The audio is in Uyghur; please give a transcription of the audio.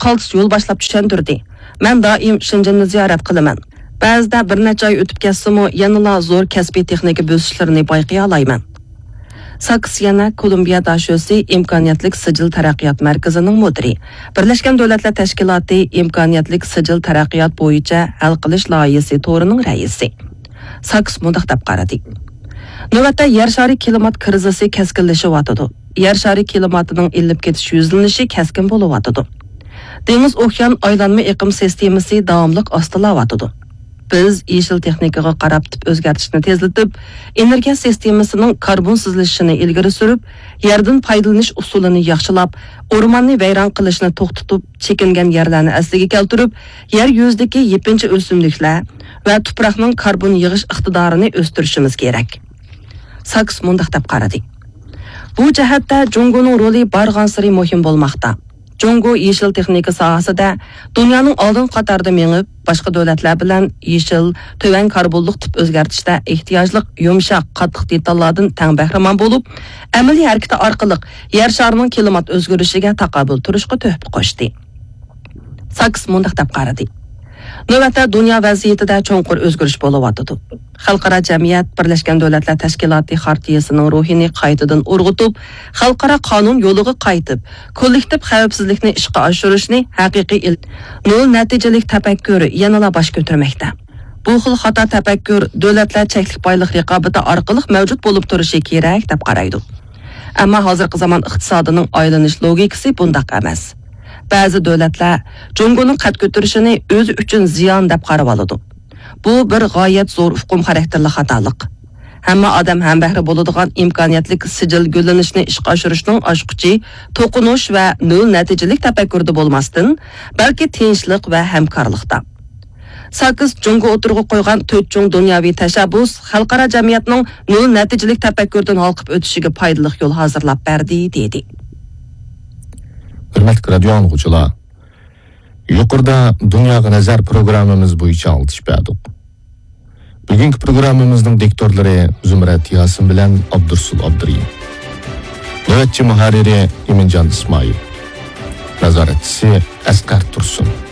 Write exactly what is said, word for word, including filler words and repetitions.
قالتىس يولباشلاپ چۈشەندۈردى. مەن دائىم شېنجېننى زىيارەت قىلىمەن. بەزىدە بىر نەچچە ئاي ئۆتۈپ كەتسىمۇ، يەنىلا زور كەسپىي تېخنىكا بۆسۈشلىرىنى بايقىيالايمەن. ساكس يەنە كولومبىيە داشۆسى ئىمكانىيەتلىك سىجىل تەرەققىيات مەركىزىنىڭ مۇدىرى، بىرلەشكەن دۆلەتلەر تەشكىلاتى ئىمكانىيەتلىك سىجىل تەرەققىيات بويىچە ھەل قىلىش لايىھىسى تورىنىڭ رەئىسى. ساكس مۇنداق دەپ قارىدى: نۆۋەتتە يەر شارى كىلىمات كىرىزىسى كەسكىنلىشىۋاتىدۇ. يەر شارى كىلىماتىنىڭ ئېلىپ كېتىش يۈزلىنىشى كەسكىن بولۇۋاتىدۇ. دېڭىز ئوكيان ئايلانما ئېقىم سىستېمىسى داۋاملىق ئاستىلاۋاتىدۇ. بىز يېشىل تېخنىكىغا قاراپ تىپ ئۆزگەرتىشنى تېزلىتىپ، ئېنېرگىيە سىستېمىسىنىڭ كاربونسىزلىشىشىنى ئىلگىرى سۈرۈپ، يەردىن پايدىلىنىش ئۇسۇلىنى ياخشىلاپ، ئورماننى ۋەيران قىلىشنى توختىتىپ، چېكىنگەن يەرلەرنى ئەسلىگە كەلتۈرۈپ، يەر يۈزىدىكى يېپىنچا ئۆسۈملۈكلەر ۋە تۇپراقنىڭ كاربون يىغىش ئىقتىدارىنى ئۆستۈرۈشىمىز كېرەك. ساكس مۇنداق دەپ قارىدى: بۇ جەھەتتە جۇڭگونىڭ رولى بارغانسېرى مۇھىم بولماقتا. جۇڭگو يېشىل تېخنىكا ساھەسىدە دۇنيانىڭ ئالدىنقى قاتارىدا مېڭىپ، باشقا دۆلەتلەر بىلەن يېشىل، تۆۋەن كاربونلۇق تىپ ئۆزگەرتىشتە ئېھتىياجلىق يۇمشاق، قاتتىق دېتاللاردىن تەڭ بەھرىمەن بولۇپ، ئەمەلىي ھەرىكىتى ئارقىلىق يەر شارىنىڭ كىلىمات ئۆزگىرىشىگە تاقابىل تۇرۇشقا تۆھپە قوشتى. ساكس مۇنداق دەپ قارىدى: نۆۋەتتە دۇنيا ۋەزىيىتىدە چوڭقۇر ئۆزگىرىش بولۇۋاتىدۇ. خەلقئارا جەمئىيەت بىرلەشكەن دۆلەتلەر تەشكىلاتى خارتىيىسىنىڭ روھىنى قايتىدىن ئۇرغۇتۇپ، خەلقئارا قانۇن يولىغا قايتىپ، كوللېكتىپ خەۋپسىزلىكنى ئىشقا ئاشۇرۇشنى ھەقىقىي ئىل-، نۆل نەتىجىلىك تەپەككۇر يەنىلا باش كۆتۈرمەكتە. بۇ خىل خاتا تەپەككۇر دۆلەتلەر چەكلىك بايلىق رىقابىتى ئارقىلىق مەۋجۇت بولۇپ تۇرۇشى كېرەك، دەپ قارايدۇ. ئەمما ھازىرقى زامان ئىقتىسادىنىڭ ئايلىنىش لوگىكىسى بۇنداق ئەمەس. بەزى دۆلەتلەر جۇڭگونىڭ قەد كۆتۈرۈشىنى ئۆزى ئۈچۈن زىيان دەپ قارىۋالىدۇ. بۇ بىر غايەت زور ئۇقۇم خاراكتېرلىك خاتالىق. ھەممە ئادەم ھەمبەھرە بولىدىغان ئىمكانىيەتلىك سىجىل گۈللىنىشنى ئىشقا ئاشۇرۇشنىڭ ئاچقۇچى توقۇنۇش ۋە نۆل نەتىجىلىك تەپەككۇردا بولماستىن، بەلكى تىنچلىق ۋە ھەمكارلىقتا. ساكس جۇڭگو ئوتتۇرىغا قويغان تۆت چوڭ دۇنياۋى تەشەببۇس خەلقئارا جەمئىيەتنىڭ نۆل نەتىجىلىك تەپەككۇردىن ھالقىپ ئۆتۈشىگە پايدىلىق يول ھازىرلاپ بەردى، دېدى. ھۆرمەتلىك رادىيو ئاڭلىغۇچىلار، يۇقىرىدا دۇنياغا نەزەر پروگراممىمىز بويىچە ئاڭلىتىش بەردۇق. بۈگۈنكى پروگراممىمىزنىڭ دىكتورلىرى زۇمرەت ياسىن بىلەن ئابدۇرسۇل ئابدۇرېھىم. نۆۋەتچى مۇھەررىرى ئىمىنجان ئىسمائىل. نازارەتچىسى ئەسقەر تۇرسۇن.